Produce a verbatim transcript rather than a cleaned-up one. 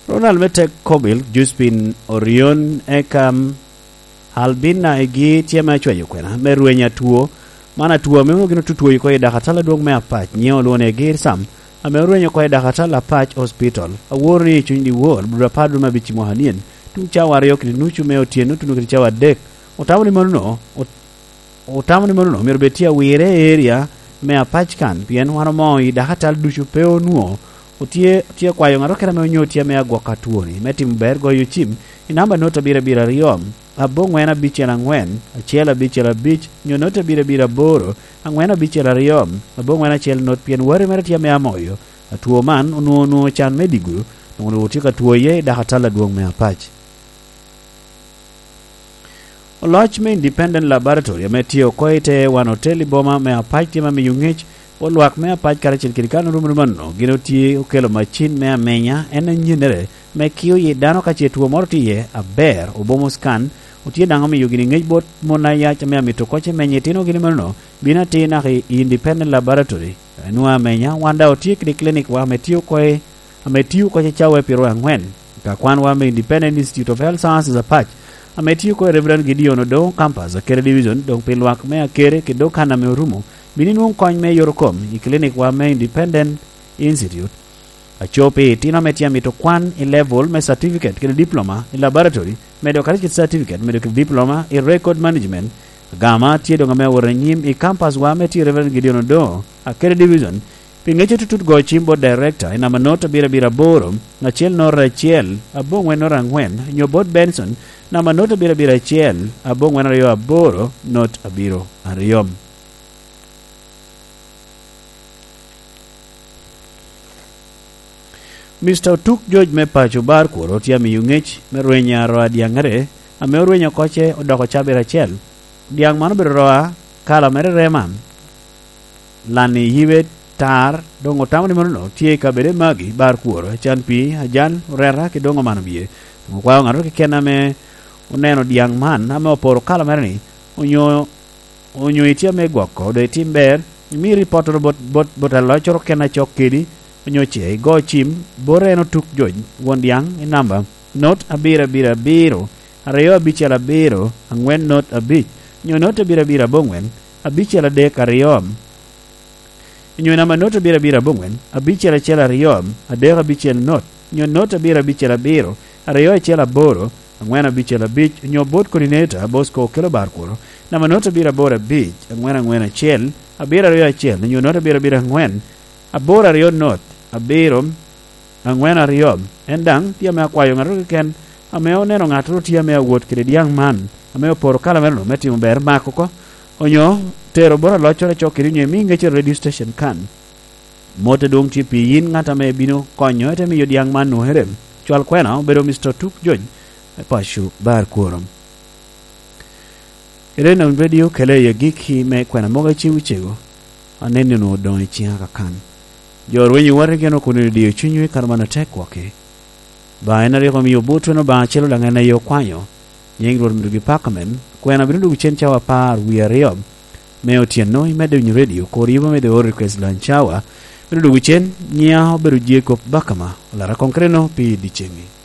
Ronald me Tek Kobil, Juspin Orion, eka Albina egi tye ame acwayo kwena me rweny atwo. Man atwo ame onwoŋo gin otutwoyo oko i dakatal adwoŋ me Apac, nyiŋe olwoŋo ni Egir Sam, ame orwenyo oko i dakatal Apac Hospital. Aworo ni i cuny dyewor, dwe apar dwe me abic i mwaka nyen, tuŋ cawa aryo kede nucu me otyeno tuno kede cawa adek, otamo ni mano no, ot-, otamo ni mano no myero bed tye awire i area me Apac kan, pien wan omoo i dakatal ducu pe onwoŋo otye, tye akwayo ŋat okene ame onyo tye ame agwoko atwoni me timo ber goyo cim i namba not abiro abiro aryo, aboŋwen abicel aŋwen, acel abicel abic, nyo not abiro abiro aboro, aŋwen abicel aryo, aboŋwen acel not, pien wati mere tye ame amoyo. Atwo man onwoŋo, onwoŋo can me digo, onwoŋo tye ka two iye i dakatal adwoŋ me Apac. Oloc me Independent Laboratory ame tye oko i te wan otel i boma me Apac tye ame miyo ŋec bot lwak me Apac karacel kede kan orumo rumo anno gin otye okelo macin me amenya, en anyennere me kio yi dano ka ce two moro tye iye aber, obomo scan, otye daŋ omiyo gini ŋec bot mon ayac ame amito koc emenyo itino gini manono, bino atir naka i Independent Laboratory. Enwoŋo amenya, wan daŋ otye kede clinic wa ame tye oko i ame tio oko cacawa i piro angwen, ka kwanwa me Independent Institute of Health Sciences Apac, ame tio oko i Reverend Gideon Odongo Campus, Akere Division, doŋ pi lwak me Akere kede dog kan ame orumo, bino inwoŋo kony me yot okom i clinic wa me Independent Institute. Aco pi itino ame tye amito kwan i level me certificate kede diploma i laboratory, medo kadi kit certificate, medo kit diploma i record management. Agama tye doŋ ame awot anyim i campus wa ame tye i Reverend Gideon Odongo, Akere Division, pi ŋec atutut go cim bot Director i namba not abiro abiro aboro, acel not acel, aboŋwen not aŋwen, nyo bot Benson, namba not abiro abiro acel, aboŋwen aryo aboro, not abiro aryo. Mister Otuk George me paco Bar Kworo tye amiyo ŋec me rweny a roa dyaŋere, ame orwenyo koce odoko cabit acel. Dyaŋ man obedo roa kala mere rema, lanni yibe tar, doŋ otamo ni manono tye i kabede magi, Bar Kworo, acan pii, ajal, oreta, ki doŋ omano bie. Doŋ okwao ŋattoro keken ame oneno dyaŋ man, ame oporo kala mere ni, onyo, onyo itye ame gwoko, do itim ber, imi ripottoro bot, bot, bot aloccoro keken acok kedi, onyo ce igo cim, bot en Otuk George, won dyaŋ, i namba, not abiro abiro abiro, aryo abicel abiro, aŋwen not abic, nyo not abiro abiro aboŋwen, abicel adek aryo, nyo namba not abiro abiro aboŋwen, abicel acel aryo, adek abicel not, nyo not abiro abicel abiro, aryo acel aboro, aŋwen abicel abic, nyo bot coordinator, Bosco Okello Bar Kworo, namba not abiro aboro abic, aŋwen aŋwen acel, abiro aryo acel, nyo not abiro abiro aŋwen, aboro aryo not, abiro, aŋwen aryo. En daŋ tye ame akwayo ŋattoro keken ame oneno ŋattoro tye ame awot kede dyaŋ man, ame oporo kala mere-nu me timo ber, mak oko, onyo tero bot aloccoro acok kede nyo imi ŋec i radio station kan. Mot adwoŋ tye pi yin ŋat ame ibino konyo, ite miyo dyaŋ man nwoŋere. Cwal kwena obedo Mister Tuk Jony, me paco Bar Kworo. Ere nam redio kele i agikki me kwena mogo acego cego, aneni onwoŋo odoŋ i ciŋa kakan. Jo rweny i wate gin okono i diyo cunywu i kare man atek kwoki. Ba en a rik omio botweno Obaŋa acel Olaŋ en aye okwanyo, nyiŋ Rwot myero gipakamen, kwena bino dwogo cen cawa apar wie aryo me otyeno, imedde winyo redio, kor yub amedde oro request lunch hour, bino dwogo cen, nyiŋa obedo Jacob Bakama, olara koŋ kede no pi dyeceŋ-ŋi.